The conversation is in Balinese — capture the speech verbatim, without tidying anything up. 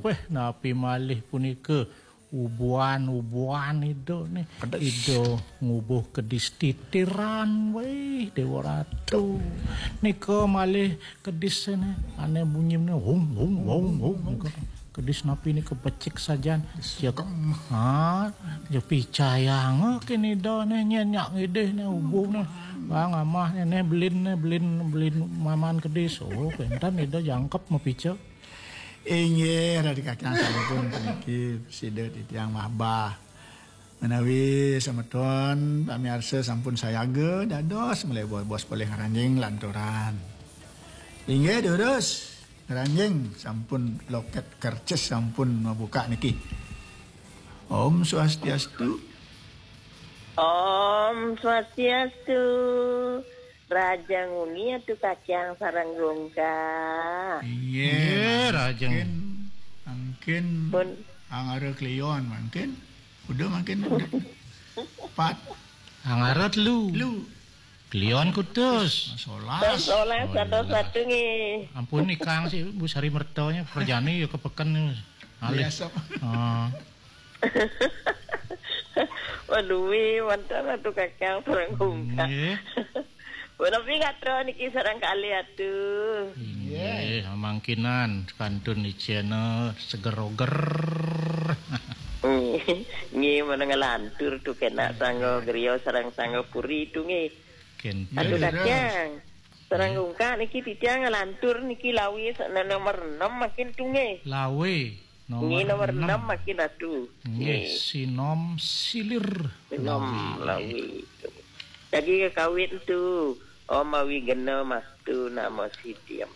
Wéh, napi malih punika ubuhan-ubuhan Ida nih. Kedis. Ida ngubuh kedis titiran, wéh, Déwa Ratu. Nika malih kedis nih, ané bunyine hung, hung, hung, hung. Nika kedis napi nika becik sajan. Cek. Ha, ya picayang kén Ida nih, nyén nyak ngidih nih, ubuh nih. Bang amah nih, nih, belin nih, belin, belin maman kedis. Oh, kénten Ida jangkep mapica. Inggih, Ratu Kakang sampun puniki sida titiang mahbah. Menawi semeton pamiarsa sampun sayaga dados malih bos-bos polih ngranjing lanturan. Inggih, durus. Ngranjing sampun loket kercis sampun mabuka niki. Om Swastiastu. Om Swastiastu. Raja nguni Atu Kacang sareng Gungkak. Inggih, Inggih, Raja. Mangkin, mangkin Pun. Angara Kliwon mangkin. Udah mangkin udah. Pat. Angara telu. Telu. Kliwon kutus. Solas. Solas. Oh, atau iya. Satu nggih. Ampun, ikang sih, Bu Sari Mertonya, kerjane ya ke peken nih. Alih. Biasa. Oh. Waduh, wih, mantan Atu Kakang sareng Gungkak. Nggih. Menawi gatra niki sareng kalih Atu. Inggih, mangkinan kantun icena seger oger. Nggih, nggih, mana ngelantur tu kena sangga griya sareng sangga puri tu nggih. Kenten. Atu Kacang. Sareng Gungkak niki titiang ngelantur niki lawi sa-, nomor enam makin tu nggih. Lawe. Nggih, nomor enam makin Atu. Nggih, nggih. Sinom silir. Sinom lawi. Lawi. Lagi kekawin tu. Om Awi Gena Mastu Namo Sidham.